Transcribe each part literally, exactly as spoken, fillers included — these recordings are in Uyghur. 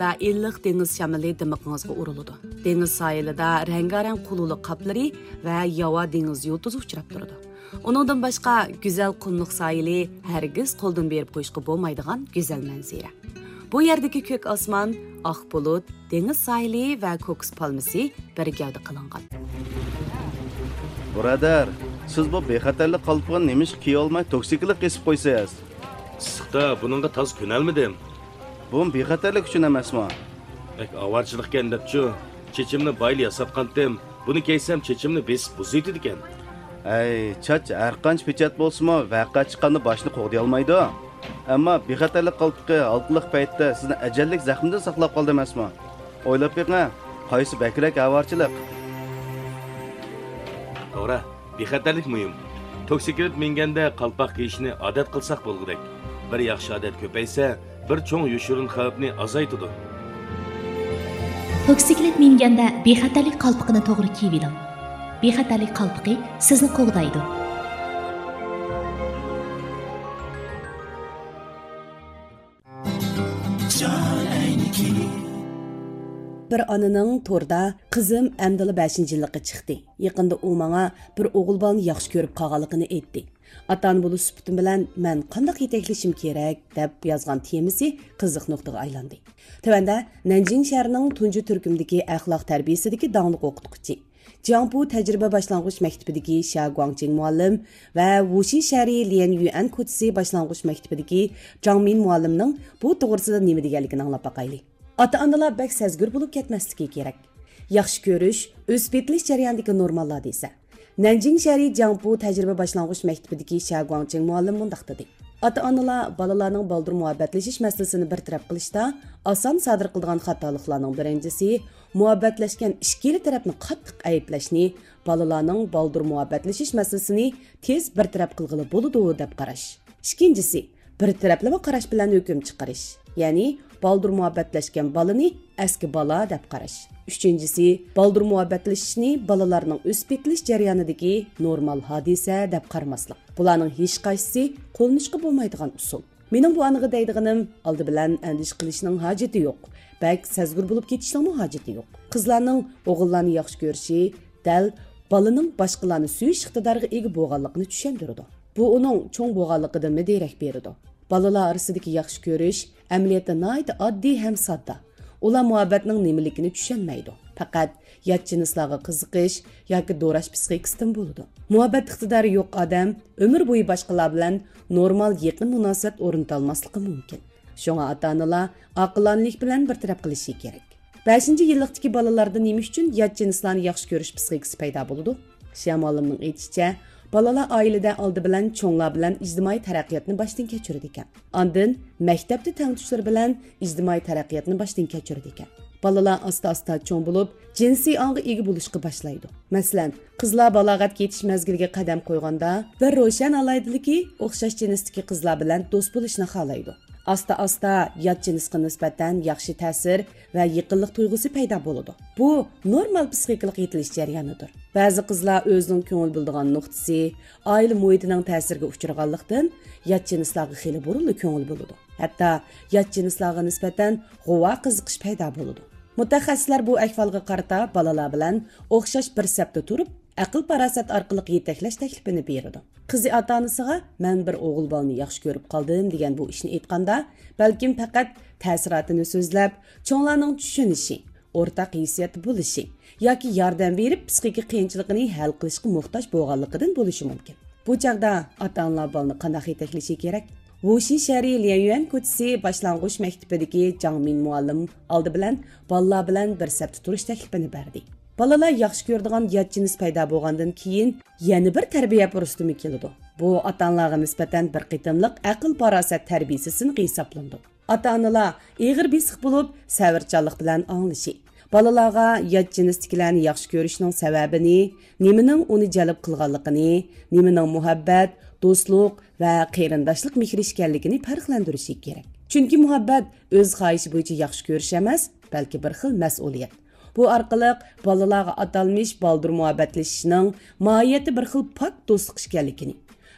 ۋە ئىللىق دېڭىز شامىلى دىمىقىڭىزغا ئۇرۇلىدۇ. دېڭىز ساھىلىدا رەڭگارەڭ قۇلۇلۇق قاپلىرى ۋە ياۋا دېڭىز يۇلتۇزى ئۇچراپ تۇرىدۇ. ئۇنىڭدىن باشقا، گۈزەل قۇملۇق ساھىلى ھەرگىز قولدىن بېرىپ قويۇشقا بولمايدىغان گۈزەل مەنزىرە. بۇ يەردىكى كۆك ئاسمان، ئاق بۇلۇت، دېڭىز ساھىلى ۋە كوكۇس پالمىسى بىر گەۋدە قىلىنغان. بۇرادەر، سىز بۇ بىخەتەرلىك قالپىقىنى نېمىشقا كىيىۋالماي توكسىكلىق قېسىپ قويىسىز؟ ئىسسىقتا بۇنىڭغا تازا كۆنەلمىدىم. بۇمۇ بىخەتەرلىك ئۈچۈن ئەمەسمۇ؟ بەك ئاۋارىچىلىقكەن دەپچۇ، چېچىمنى بايىلا ياساتقانتىم. بۇنى كىيسەم چېچىمنى بېسىپ بۇزۇۋېتىدىكەن. ئەي، چاچ ھەرقانچە پېچەت بولسىمۇ، ۋەقە چىققاندا باشنى قوغدىيالمايدۇ. ئەمما بىخەتەرلىك قالپىقى ھالقىلىق پەيتتە سىزنى ئەجەللىك زەخمىدىن ساقلاپ قالدى ئەمەسمۇ؟ ئويلاپ بېقىڭ، قايسى بەكرەك ئاۋارىچىلىق؟ توغرا، بىخەتەرلىك مۇھىم. توكسىكلىت مىنگەندە قالپاق كىيىشنى ئادەت قىلساق بولغۇدەك. بىر ياخشى ئادەت كۆپەيسە، بىر چوڭ يوشۇرۇن خەۋپنى ئازايتىدۇ. توكسىكلىت مىنگەندە بىخەتەرلىك قالپىقىنى توغرا كىيىۋېلىڭ. بىخەتەرلىك قالپىقى سىزنى قوغدايدۇ. بىر ئانىنىڭ توردا، «قىزىم ئەمدىلا بەشىنچى يىللىققا چىقتى. يېقىندا ئۇ ماڭا بىر ئوغۇل بالىنى ياخشى كۆرۈپ قالغانلىقىنى ئېيتتى. ئاتا-ئانا بولۇش سۈپىتىم بىلەن مەن قانداق يېتەكلىشىم كېرەك؟» دەپ يازغان تېمىسى قىزىق نۇقتىغا ئايلاندى. تۆۋەندە نەنجىڭ شەھىرىنىڭ تۇنجى تۈركۈمدىكى ئەخلاق تەربىيەسىدىكى داڭلىق ئوقۇتقۇچى، جياڭپۇ تەجرىبە باشلانغۇچ مەكتىپىدىكى شيا گۇاڭچىڭ مۇئەللىم ۋە ۋۇشى شەھىرى ليەن يۈەن كوچىسى باشلانغۇچ مەكتىپىدىكى جاڭ مىن مۇئەللىمنىڭ بۇ توغرىسىدا نېمە دېگەنلىكىنى ئاڭلاپ باقايلى. ئاتا-ئانىلار بەك سەزگۈر بولۇپ كەتمەسلىكى كېرەك. ياخشى كۆرۈش ئۆسۈپ يېتىلىش جەريانىدىكى نورمال ھادىسە. نەنجىڭ شەھىرى جياڭپۇ تەجرىبە باشلانغۇچ مەكتىپىدىكى شيا گۇاڭچىڭ مۇئەللىم مۇنداق دېدى: ئاتا-ئانىلار بالىلارنىڭ بالدۇر مۇھەببەتلىشىش مەسىلىسىنى بىر تەرەپ قىلىشتا ئاسان سادىر قىلىدىغان خاتالىقلارنىڭ بىرىنچىسى، مۇھەببەتلەشكەن ئىككىلا تەرەپنى قاتتىق ئەيىبلەشنى، بالىلارنىڭ بالدۇر مۇھەببەتلىشىش مەسىلىسىنى تېز بىر تەرەپ قىلغىلى بولىدۇ دەپ قاراش. ئىككىنچىسى، بىر تەرەپلىمە قاراش بىلەن ھۆكۈم چىقىرىش، يەنى بالدۇر مۇھەببەتلەشكەن بالىنى ئەسكى بالا دەپ قاراش. ئۈچىنچىسى، بالدۇر مۇھەببەتلىشىشنى بالىلارنىڭ ئۆسۈپ يېتىلىش جەريانىدىكى نورمال ھادىسە دەپ قارىماسلىق. بۇلارنىڭ ھېچقايسىسى قوللىنىشقا بولمايدىغان ئۇسۇل. مېنىڭ بۇ ئانىغا دەيدىغىنىم، ئالدى بىلەن ئەندىشە قىلىشنىڭ ھاجىتى يوق، بەك سەزگۈر بولۇپ كېتىشنىڭمۇ ھاجىتى يوق. قىزلارنىڭ ئوغۇللارنى ياخشى كۆرۈشى دەل بالىنىڭ باشقىلارنى سۆيۈش ئىقتىدارىغا ئىگە بولغانلىقىنى چۈشەندۈرىدۇ. بۇ ئۇنىڭ چوڭ بولغانلىقىدىنمۇ دېرەك بېرىدۇ. بالىلار ئارىسىدىكى ياخشى كۆرۈش ئەمەلىيەتتە ناھايىتى ئاددىي ھەم ساددا. ئۇلار مۇھەببەتنىڭ نېمىلىكىنى چۈشەنمەيدۇ. پەقەت يات جىنسلارغا قىزىقىش ياكى دوراش پىسخىكىسىدىن بولىدۇ. مۇھەببەت ئىقتىدارى يوق ئادەم ئۆمۈر بويى باشقىلار بىلەن نورمال يېقىن مۇناسىۋەت ئورنىتالماسلىقى مۇمكىن. شۇڭا ئاتا-ئانىلار ئاقىلانىلىك بىلەن بىر تەرەپ قىلىشى كېرەك. بەشىنچى يىللىقتىكى بالىلاردا نېمە ئۈچۈن يات جىنسلارنى ياخشى كۆرۈش پىسخىكىسى پەيدا بولىدۇ؟ شيا مۇئەللىمنىڭ ئېيتىشىچە، بالىلار ئائىلىدە ئالدى بىلەن چوڭلار بىلەن ئىجتىمائىي تەرەققىياتنى باشتىن كەچۈرىدىكەن. ئاندىن مەكتەپتە تەڭتۇشلىرى بىلەن ئىجتىمائىي تەرەققىياتنى باشتىن كەچۈرىدىكەن. بالىلار ئاستا-ئاستا چوڭ بولۇپ، جىنسىي ئاڭغا ئىگە بولۇشقا باشلايدۇ. مەسىلەن، قىزلار بالاغەتكە يېتىش مەزگىلىگە قەدەم قويغاندا، بىر روشەن ئالاھىدىلىكى ئوخشاش جىنستىكى قىزلار بىلەن دوست بولۇشنى خالايدۇ. ئاستا-ئاستا يات جىنسقا نىسبەتەن ياخشى تەسىر ۋە يېقىنلىق تۇيغۇسى پەيدا بولىدۇ. بۇ نورمال پسىخىكىلىق يېتىلىش جەريانىدۇر. بەزى قىزلار ئۆزىنىڭ كۆڭۈل بۆلىدىغان نۇقتىسى، ئائىلە مۇھىتىنىڭ تەسىرىگە ئۇچرىغانلىقتىن، يات جىنسلارغا خېلى بۇرۇنلا كۆڭۈل بۆلىدۇ. ھەتتا يات جىنسلارغا نىسبەتەن غۇۋا قىزىقىش پەيدا بولىدۇ. مۇتەخەسسىسلەر بۇ ئەھۋالغا قارىتا بالىلار بىلەن ئوخشاش بىر سەپتە تۇرۇپ، ئەقىل-پاراسەت ئارقىلىق يېتەكلەش تەكلىپىنى بېرىدۇ. قىزى ئاتا-ئانىسىغا «مەن بىر ئوغۇل بالىنى ياخشى كۆرۈپ قالدىم» دېگەن بۇ ئىشنى ئېيتقاندا، بەلكىم پەقەت تەسىراتىنى سۆزلەپ، چوڭلارنىڭ چۈشىنىشى، ئورتاق ھېسسىياتتا بولۇشى ياكى ياردەم بېرىپ، پسىخىكا قىيىنچىلىقىنى ھەل قىلىشقا موھتاج بولغانلىقىدىن بولۇشى مۇمكىن. بۇ چاغدا ئاتا-ئانىلار بالىنى قانداق يېتەكلىشى كېرەك؟ ۋۇشى شەھىرى ليەنيۈەن كوچىسى باشلانغۇچ مەكتىپىدىكى جاڭ مىن مۇئەللىم ئالدى بىلەن بالىلار بىلەن بىر سەپتە تۇرۇش تەكلىپىنى بەردى. بالىلار ياخشى كۆرىدىغان يات جىنس پەيدا بولغاندىن كېيىن يەنە بىر تەربىيە پۇرسىتىمۇ كېلىدۇ. بۇ ئاتا-ئانىلارغا نىسبەتەن بىر قېتىملىق ئەقىل-پاراسەت تەربىيىسى سىنىقى ھېسابلىنىدۇ. ئاتا-ئانىلار ئېغىر بېسىق بولۇپ، سەۋرچانلىق بىلەن ئاڭلىشى، بالىلارغا يات جىنستىكىلەرنى ياخشى كۆرۈشنىڭ سەۋەبىنى، نېمىنىڭ ئۇنى جەلپ قىلغانلىقىنى، نېمىنىڭ مۇھەببەت، دوستلۇق ۋە قېرىنداشلىق مېھرى ئىكەنلىكىنى پەرقلەندۈرۈشى كېرەك. چۈنكى مۇھەببەت ئۆز خاھىشى بويىچە ياخشى كۆرۈش ئەمەس، بەلكى بىر خىل مەسئۇلىيەت. بۇ ئارقىلىق بالىلارغا ئاتالمىش بالدۇر مۇھەببەتلىشىشنىڭ ماھىيەتتە بىر خىل پاك دوستلۇق ئىكەنلىكىنى،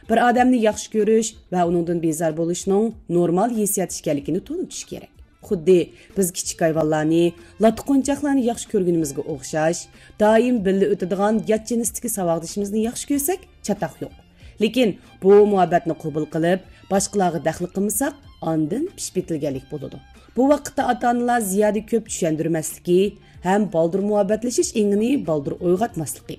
بىر ئادەمنى ياخشى كۆرۈش ۋە ئۇنىڭدىن بىزار بولۇشنىڭ نورمال ھېسسىيات ئىكەنلىكىنى تونۇتۇش كېرەك. خۇددى بىز كىچىك ھايۋانلارنى، لاتا قونچاقلارنى ياخشى كۆرگىنىمىزگە ئوخشاش، دائىم بىللە ئۆتىدىغان يات جىنستىكى ساۋاقدىشىمىزنى ياخشى كۆرسەك، چاتاق يوق. لېكىن بۇ مۇھەببەتنى قوبۇل قىلىپ، باشقىلارغا دەخلى قىلمىساق، ئاندىن پىشىپ يېتىلگەنلىك بولىدۇ. بۇ ۋاقىتتا ئاتا-ئانىلار زىيادە كۆپ چۈشەندۈرمەسلىكى ھەم بالدۇر مۇھەببەتلىشىش ئېڭىنى بالدۇر ئويغاتماسلىقى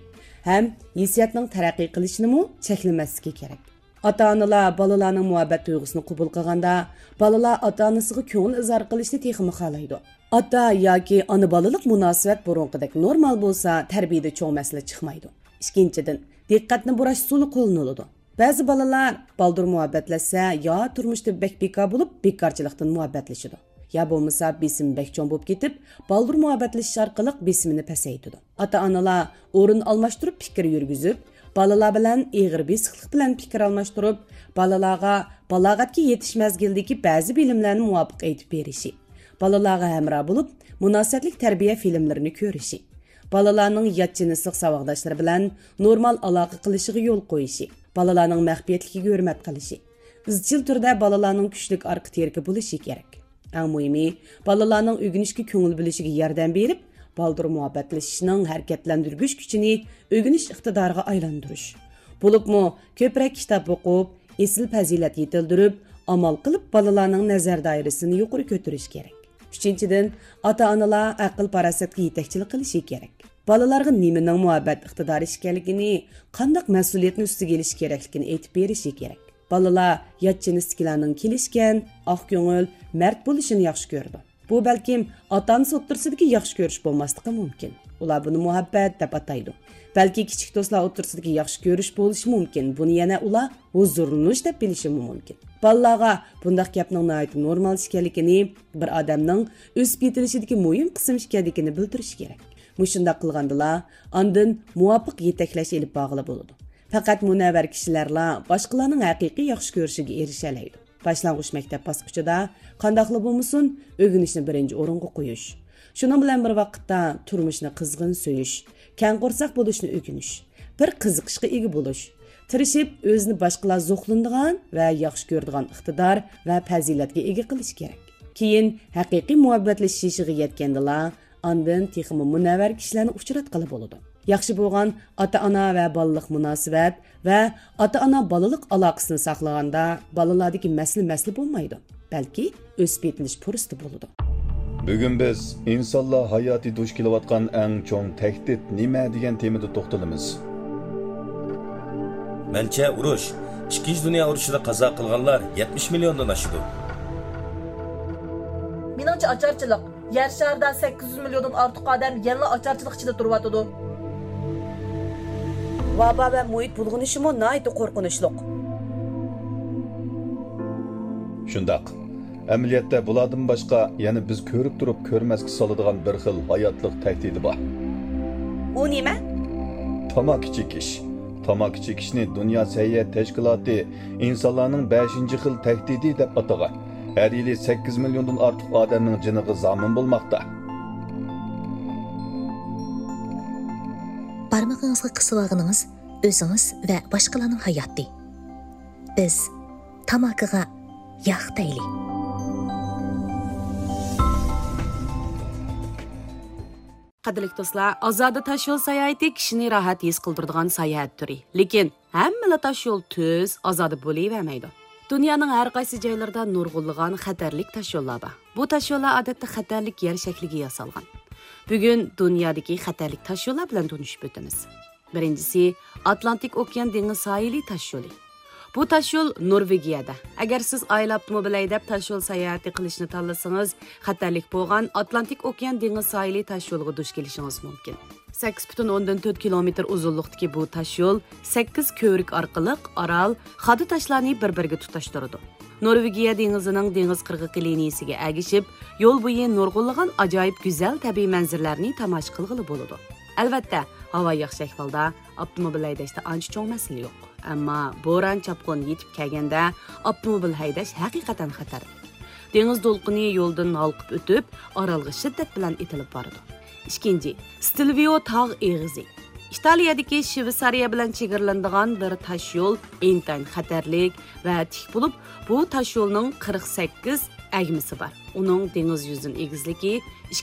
ھەم ھېسسىياتنىڭ تەرەققىي قىلىشىنىمۇ چەكلىمەسلىكى كېرەك. ئاتا-ئانىلار بالىلارنىڭ مۇھەببەت تۇيغۇسىنى قوبۇل قىلغاندا، بالىلار ئاتا-ئانىسىغا كۆڭۈل ئىزھار قىلىشنى تېخىمۇ خالايدۇ. ئاتا ياكى ئانا بالىلىق مۇناسىۋەت بۇرۇنقىدەك نورمال بولسا، تەربىيەدە چوڭ مەسىلە چىقمايدۇ. ئىككىنچىدىن، دىققەتنى بۇراش ئۇسۇلى قوللىنىلىدۇ. بەزى بالىلار بالدۇر مۇھەببەتلەشسە، يا تۇرمۇشتا بەك بىكار بولۇپ، بىكارچىلىقتىن مۇھەببەتلىشىدۇ، يا بولمىسا بېسىمى بەك چوڭ بولۇپ كېتىپ، بالدۇر مۇھەببەتلىشىش ئارقىلىق بېسىمىنى پەسەيتىدۇ. ئاتا-ئانىلار ئورۇن ئالماشتۇرۇپ پىكىر يۈرگۈزۈپ، بالىلار بىلەن ئېغىر بېسىقلىق بىلەن پىكىر ئالماشتۇرۇپ، بالىلارغا بالاغەتكە يېتىش مەزگىلىدىكى بەزى بىلىملەرنى مۇۋاپىق ئېيتىپ بېرىشى، بالىلارغا ھەمراھ بولۇپ، مۇناسىۋەتلىك تەربىيە فىلىملىرىنى كۆرۈشى، بالىلارنىڭ يات جىنسلىق ساۋاقداشلىرى بىلەن نورمال ئالاقە قىلىشىغا يول قويۇشى، بالىلارنىڭ مەخپىيەتلىكىگە ھۆرمەت قىلىشى، ئىزچىل تۈردە بالىلارنىڭ كۈچلۈك ئارقا تىرىكى بولۇشى كېرەك. ئەڭ مۇھىمى، بالىلارنىڭ ئۆگىنىشكە كۆڭۈل بۆلۈشىگە ياردەم بېرىپ، بالدۇر مۇھەببەتلىشىشنىڭ ھەرىكەتلەندۈرگۈچ كۈچىنى ئۆگىنىش ئىقتىدارىغا ئايلاندۇرۇش. بولۇپمۇ كۆپرەك كىتاب ئوقۇپ، ئېسىل پەزىلەت يېتىلدۈرۈپ، ئامال قىلىپ بالىلارنىڭ نەزەر دائىرىسىنى يۇقىرى كۆتۈرۈش كېرەك. ئۈچىنچىدىن، ئاتا-ئانىلار ئەقىل-پاراسەتكە يېتەكچىلىك قىلىشى كېرەك. بالىلارغا نېمىنىڭ مۇھەببەت ئىقتىدارى ئىكەنلىكىنى، قانداق مەسئۇلىيەتنى ئۈستىگە ئېلىشى كېرەكلىكىنى ئېيتىپ بېرىشى كېرەك. بالىلار يات جىنستىكىلەرنىڭ كېلىشكەن، ئاق كۆڭۈل، مەرد بولۇشىنى ياخشى كۆرىدۇ. بۇ بەلكىم ئاتا-ئانىسى ئوتتۇرىسىدىكى ياخشى كۆرۈش بولماسلىقى مۇمكىن. ئۇلار بۇنى مۇھەببەت دەپ ئاتايدۇ. بەلكى كىچىك دوستلار ئوتتۇرىسىدىكى ياخشى كۆرۈش بولۇشى مۇمكىن. بۇنى يەنە ئۇلار ھۇزۇرلىنىش دەپ بىلىشىمۇ مۇمكىن. بالىلارغا بۇنداق گەپنىڭ ناھايىتى نورمال ئىكەنلىكىنى، بىر ئادەمنىڭ ئۆسۈپ يېتىلىشىدىكى مۇھىم قىسىم ئىكەنلىكىنى بىلدۈرۈش كېرەك. مۇشۇنداق قىلغاندىلا، ئاندىن مۇۋاپىق يېتەكلەش ئېلىپ بارغىلى بولىدۇ. پەقەت مۇنەۋۋەر كىشىلەرلا باشقىلارنىڭ ھەقىقىي ياخشى كۆرۈشىگە ئېرىشەلەيدۇ. باشلانغۇچ مەكتەپ باسقۇچىدا قانداقلا بولمىسۇن، ئۆگىنىشنى بىرىنچى ئورۇنغا قويۇش. شۇنىڭ بىلەن بىر ۋاقىتتا، تۇرمۇشنى قىزغىن سۆيۈش، كەڭ قورساق بولۇشنى ئۆگىنىش، بىر قىزىقىشقا ئىگە بولۇش، تىرىشىپ ئۆزىنى باشقىلار زوقلىنىدىغان ۋە ياخشى كۆرىدىغان ئىقتىدار ۋە پەزىلەتكە ئىگە قىلىش كېرەك. كېيىن ھەقىقىي مۇھەببەتلىشىش يېشىغا يەتكەندىلا، ئاندىن تېخىمۇ مۇنەۋۋەر كىشىلەرنى ئۇچراتقىلى بولىدۇ. ياخشى بولغان ئاتا-ئانا ۋە بالىلىق مۇناسىۋەت ۋە ئاتا-ئانا بالىلىق ئالاقىسىنى ساقلىغاندا، بالىلاردىكى مەسىلە مەسىلە بولمايدۇ، بەلكى ئۆسۈپ يېتىلىش پۇرسىتى بولىدۇ. بۈگۈن بىز ئىنسانلار ھاياتى دۇچ كېلىۋاتقان ئەڭ چوڭ تەھدىت نېمە دېگەن تېمىدا توختىلىمىز. مەنچە، ئۇرۇش، ئىككىنچى دۇنيا ئۇرۇشىدا قازا قىلغانلار يەتمىش مىليوندىن ئاشىدۇ. مېنىڭچە، ئاچارچىلىق. يەر شارىدا سەككىز يۈز مىليوندىن ئارتۇق ئادەم يەنىلا ئاچارچىلىق ئىچىدە تۇرۇۋاتىدۇ. ۋابا ۋە مۇھىت بۇلغىنىشىمۇ ناھايىتى قورقۇنچلۇق. شۇنداق. ئەمەلىيەتتە بۇلاردىن باشقا يەنە بىز كۆرۈپ تۇرۇپ كۆرمەسكە سالىدىغان بىر خىل ھاياتلىق تەھدىتى بار. ئۇ نېمە؟ تاماكا چېكىش. تاماكا چېكىشنى دۇنيا سەھىيە تەشكىلاتى ئىنسانلارنىڭ بەشىنچى خىل تەھدىتى دەپ ئاتىغان. ھەر يىلى سەككىز مىليوندىن ئارتۇق ئادەمنىڭ جېنىغا زامىن بولماقتا. بارمىقىڭىزغا قىسىۋالغىنىڭىز ئۆزىڭىز ۋە باشقىلارنىڭ ھاياتى. بىز تاماكىغا ياق دەيلى. قەدىرلىك دوستلار، ئازادە تاشيول ساياھىتى كىشىنى راھەت ھېس قىلدۇرىدىغان ساياھەت تۈرى. لېكىن ھەممىلا تاشيول تۈز، ئازادە بولۇۋەرمەيدۇ. دۇنيانىڭ ھەر قايسى جايلىرىدا نۇرغۇنلىغان خەتەرلىك تاشيوللار بار. بۇ تاشيوللار ئادەتتە خەتەرلىك يەر شەكلىگە ياسالغان. بۈگۈن دۇنيادىكى خەتەرلىك تاشيوللار بىلەن تونۇشۇپ ئۆتىمىز. بىرىنچىسى، ئاتلانتىك ئوكيان دېڭىز ساھىلى تاشيولى. بۇ تاشيول نورۋېگىيەدە. ئەگەر سىز ئائىلە ئاپتوموبىل ھەيدەپ تاشيول ساياھىتى قىلىشنى تاللىسىڭىز، خەتەرلىك بولغان ئاتلانتىك ئوكيان دېڭىز ساھىلى تاشيولىغا دۇچ كېلىشىڭىز مۇمكىن. سەككىز پۈتۈن ئوندىن تۆت كىلومېتىر ئۇزۇنلۇقتىكى بۇ تاشيول سەككىز كۆۋرۈك ئارقىلىق ئارال، خادا تاشلارنى بىر-بىرىگە تۇتاشتۇرىدۇ. نورۋېگىيە دېڭىزىنىڭ دېڭىز قىرغىقى لىنىيىسىگە ئەگىشىپ، يول بويى نۇرغۇنلىغان ئاجايىپ گۈزەل تەبىئىي مەنزىرىلەرنى تاماشا قىلغىلى بولىدۇ. ئەلۋەتتە، ھاۋا ياخشى ئەھۋالدا ئاپتوموبىل ھەيدەشتە ئانچە چوڭ مەسىلە يوق. ئەمما بوران، چاپقۇن يېتىپ كەلگەندە ئاپتوموبىل ھەيدەش ھەقىقەتەن خەتەرلىك. دېڭىز دولقۇنى يولدىن ھالقىپ ئۆتۈپ، ئارالغا شىددەت بىلەن ئېتىلىپ بارىدۇ. ئىككىنچى، ستىلۋىو تاغ ئېغىزى. ئىتالىيەدىكى شۋېتسارىيە بىلەن چېگرىلىنىدىغان بىر تاشيول ئىنتايىن خەتەرلىك ۋە تىك بولۇپ، بۇ تاشيولنىڭ قىرىق سەككىز ئەگمىسى بار. ئۇنىڭ دېڭىز يۈزىدىن ئېگىزلىكى